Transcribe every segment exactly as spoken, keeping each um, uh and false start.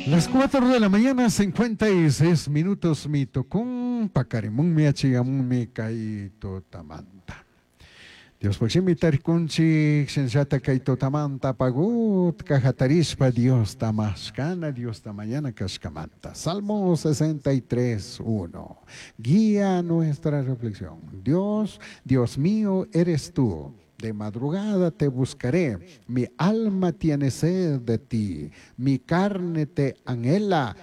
Las cuatro de la mañana, cincuenta y seis minutos, mi tocún, pacarimunmi, achigamunmi, kay tutamanta. Dios pochimi tarikunchik, shinllata kay tutamanta pagut, kajatarispa, Dios tamashkana, Dios tamañana kashkamanta. Salmo sesenta y tres, uno. Guía nuestra reflexión. Dios, Dios mío, eres tú. De madrugada te buscaré, mi alma tiene sed de ti, mi carne te anhela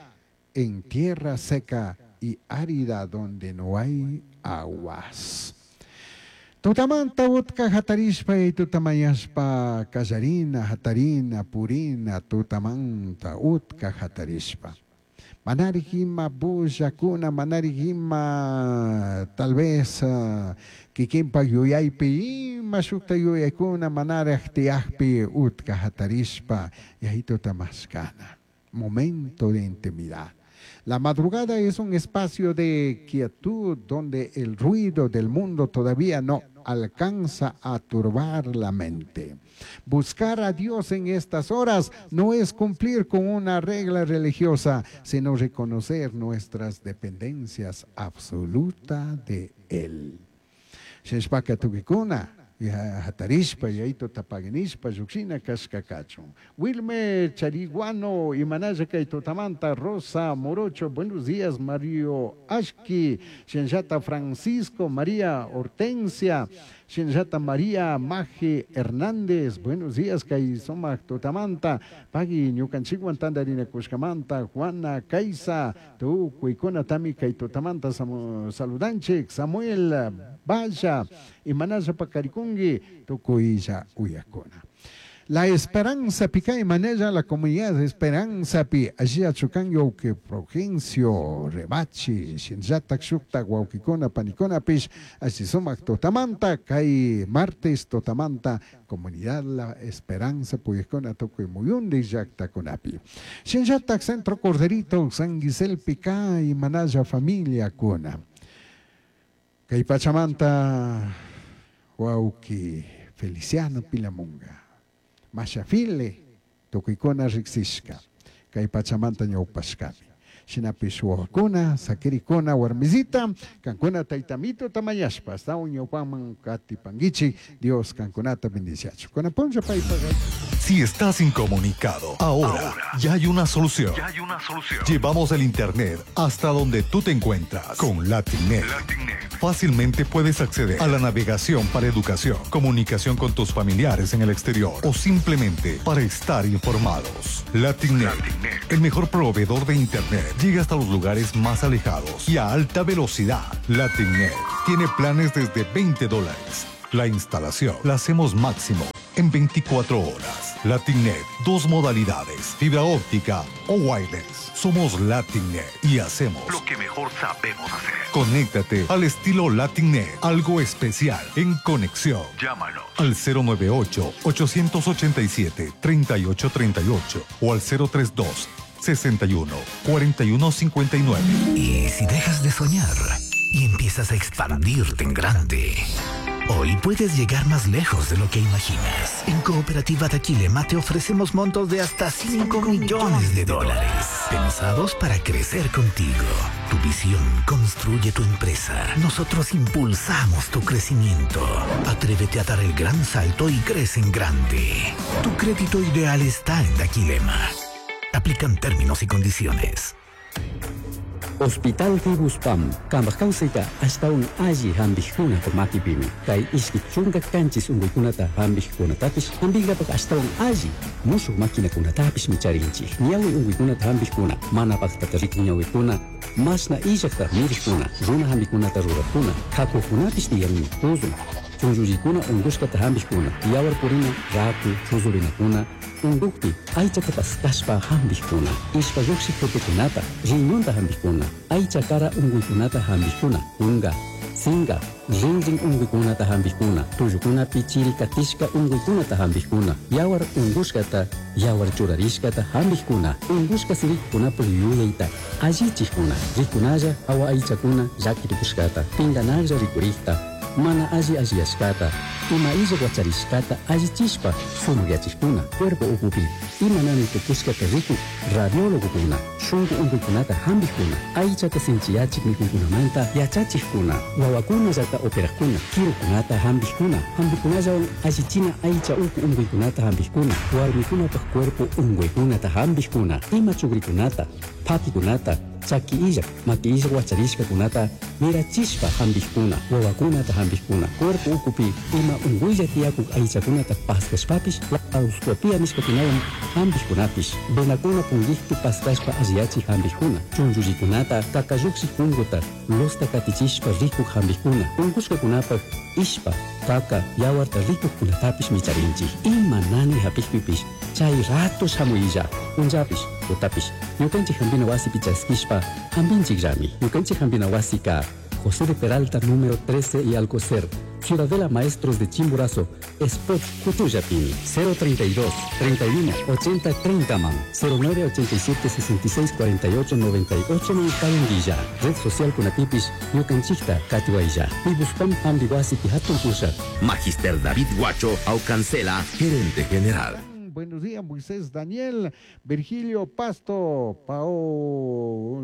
en tierra seca y árida donde no hay aguas. Tutamanta utka hatarishpa y tutamayashpa kallarina, hatarina, purina, tutamanta utka hatarishpa. Manarigima bullakuna, manarigima tal vez uh, kikinpa yuyaypi ima shukta yuyaykuna manaraj tiyajpi utka hatarishpa yaytuta tamashkana. Momento de intimidad. La madrugada es un espacio de quietud donde el ruido del mundo todavía no alcanza a turbar la mente. Buscar a Dios en estas horas no es cumplir con una regla religiosa, sino reconocer nuestras dependencias absolutas de Él. Sheshpaka tukikuna, ya hatarishpa, yaito tapaginishpa, yuxina kashkakachun. Wilmer Chariguano, Imanaya Kaitotamanta, Rosa Morocho, buenos días, Mario Ashki, Shenjata Francisco, María Hortensia, Shenjata María Maje Hernández, buenos días, Kaisoma Totamanta, Pagui Ñukanchiguan Tandarina Kushkamanta, Juana Kaisa, Tu Kuikona Tami Kaitotamanta, Saludanchik, Samuel Vaya, Imanaya Pacarikungi, Tukuilla Uyakona. La Esperanza Pica y maneja la comunidad de Esperanza Pi. Allí achucan que Progencio, Rebachi, Shinjata, Shukta, Guauquicona, Panicona, Pish, así sumac Totamanta, Kai martes Totamanta, comunidad La Esperanza, Puyescona, Toco y Muyundi, Yacta Conapi. Shinjata, Centro Corderito, San Guisel Pica y Manaya Familia Cona. Kai Pachamanta, Guauqui, Feliciano Pilamunga. Mashafile, tukuykuna riksishka, kay pachamanta ñawpashkami. Shinapish wawakuna, sakirikuna, warmizita, kankuna taytamito tamayashpa, hasta un ñawpaman katipanguichi, Dios kankunata bendiciachu. Kunapuncha paypaga. Si estás incomunicado, ahora, ahora ya hay una solución. Ya hay una solución. Llevamos el internet hasta donde tú te encuentras con LatinNet. LatinNet. Fácilmente puedes acceder a la navegación para educación, comunicación con tus familiares en el exterior o simplemente para estar informados. LatinNet, LatinNet, el mejor proveedor de internet, llega hasta los lugares más alejados y a alta velocidad. LatinNet tiene planes desde veinte dólares. La instalación la hacemos máximo en veinticuatro horas. LatinNet, dos modalidades, fibra óptica o wireless. Somos LatinNet y hacemos lo que mejor sabemos hacer. Conéctate al estilo LatinNet, algo especial en conexión. Llámanos al cero nueve ocho, ocho ocho siete, tres ocho tres ocho o al cero tres dos, sesenta y uno, cuarenta y uno cincuenta y nueve. Y si dejas de soñar y empiezas a expandirte en grande, hoy puedes llegar más lejos de lo que imaginas. En Cooperativa Daquilema te ofrecemos montos de hasta cinco millones de dólares, pensados para crecer contigo. Tu visión construye tu empresa. Nosotros impulsamos tu crecimiento. Atrévete a dar el gran salto y crece en grande. Tu crédito ideal está en Daquilema. Aplican términos y condiciones. Hospital Fibuspam, Kambakausita, hasta un alli hambijuna por makipimi. Kay iski chunga kanchis ungukunata hambijkunatapish, hambigapak hasta un alli, mushu maquinakunatapish micharinchi. Ñawi ungukunata hambijkuna, manapaqtata rikuñawikuna, masna illaqta mirijkuna, runa hambikunata rurakuna, kakukunapish tiyarmi, tuzun. Chunllullikuna ungushkata hambijkuna, yawar purina, raku, chuzurinakuna, ungukpi, aychata paskashpa hambijkuna, ishpa lluqshik tutukunata, riñonta hambijkuna, aycha kara unguykunata hambijkuna, unga, singa, rinrin unguykunata hambijkuna, tullukunapi chirikatishka unguykunata hambijkuna, yawar ungushkata, yawar churarishkata hambijkuna, ungushka sirikkunapuk yuyayta, allichikuna, rikunalla awa aychakuna llakirikushkata, pinganalla rikurikta, mana alli alliyashkata, Ima illa wacharishkata allichishpa sumakyachishkuna, cuerpo ukupi ima nanay tukushkata rikuk radiólogokuna, shunku unkuykunata hampikuna, aychata sinchiyachik mikuykunamanta yachachikkuna, wawakunallata operajkuna, kirukunata hampikkuna, hampikunallawan allichina aycha uku unkuykunata hampikkuna, warmikunapak cuerpo unkuykunata hampikkuna, ima chukrikunata, pakikunata, chaki illak, maki illak wacharishkakunata mirachishpa hampikkuna, wawakunata hampikkuna, cuerpo ukupi ima unkuylla tiyakuk aychakunata paskashpapish laparoscopia nishkakunawan hampikkunapish, venakuna punkikpi paskashpa alliyachik hampikkuna, chunchullikunata kakallukshik punkuta losta katichishpa rikuk hampikkuna, unkushkakunapak ishpa, kaka, yawarta rikukkunatapish micharinchik. Ima nanay hapikpipish chay rato shamuylla, punllapish, tutapish, ñukanchik hampina wasipi chaskishpa hampinchikllami. Ñukanchik hampina wasika José de Peralta, número trece y Alcocer, Ciudadela Maestros de Chimborazo, Spot Cutuyapini, cero treinta y dos, treinta y uno, ochenta, treinta man, cero nueve ochenta y siete, sesenta y seis, cuarenta y ocho, noventa y ocho man Cayanguilla, Red Social Kunatipis, Ñukanchikta, Catihuaylla, Pibuspam Hambiwasi Pihatun Pusha. Magister David Guacho Aucancela, gerente general. Buenos días, Moisés Daniel, Virgilio Pasto, Pao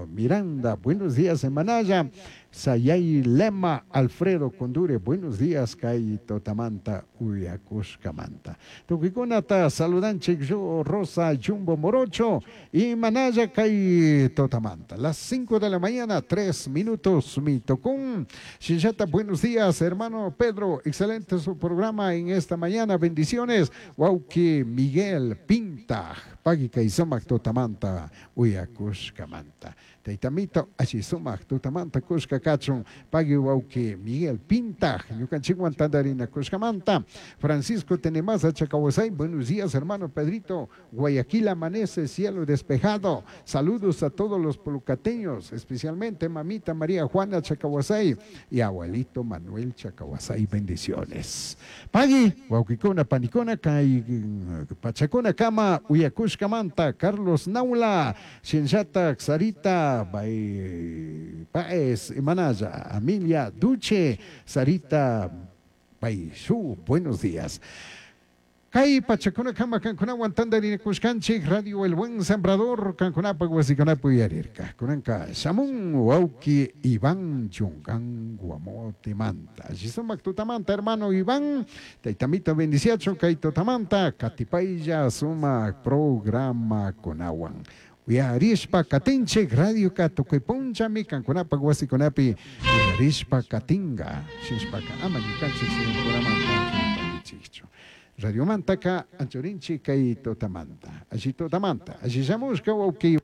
Miranda, buenos días, Emanaya, Sayay Lema, Alfredo Condure, buenos días, Kai Totamanta, Uyacushcamanta. Tuquikunata, saludanchik, yo, Rosa, Jumbo Morocho, y Manaya, Kai Totamanta. Las cinco de la mañana, tres minutos, mi tocún. Shinshata, buenos días, hermano Pedro, excelente su programa en esta mañana, bendiciones. Wauki Miguel Pinta, Pagui Kaisomac Totamanta, Uyacushcamanta. Taitamito, Ashisumac Totamanta, Kushka Kachun, Pagui Wauki Miguel Pinta, Ñukanchikwan Tandarina Kushkamanta, Francisco Tenemaza Chacahuasay, buenos días, hermano Pedrito, Guayaquil amanece, cielo despejado, saludos a todos los polucateños, especialmente mamita María Juana Chacahuasay y abuelito Manuel Chacahuasay, bendiciones. Pagui, Wauquicona, Panicona, Kai, Pachacona, Kama, Uyacushkamanta, Carlos Naula, Shinshata, Sarita, Bay, Paez, Manaya, Amelia Duche, Sarita Baishu, buenos días. Kai Pachacona Kama Cancuna Tandarina Kushkanchik, Radio El Buen Sembrador, Cancunapa, Guasiconapu y Arirca. Cunanca, Shamun, Wauki, Iván, Yungan, Guamote, Manta. Shizumac Tutamanta, hermano Iván, Taitamita Bendiciacho, Kaito Tamanta, Catipaya, Suma, Programa Conawan. Uyarishpa Katinchik, Radio Katuquipunchami, Cancunapa, Guasiconapi, Uyarishpa Katinga, Shishpaka, Ama, Yukanchik, Sincunamanta, Radio Mantaka, Anchorinchi, Kai Totamanta. Allí Totamanta. Allí Shamushka, Wauki.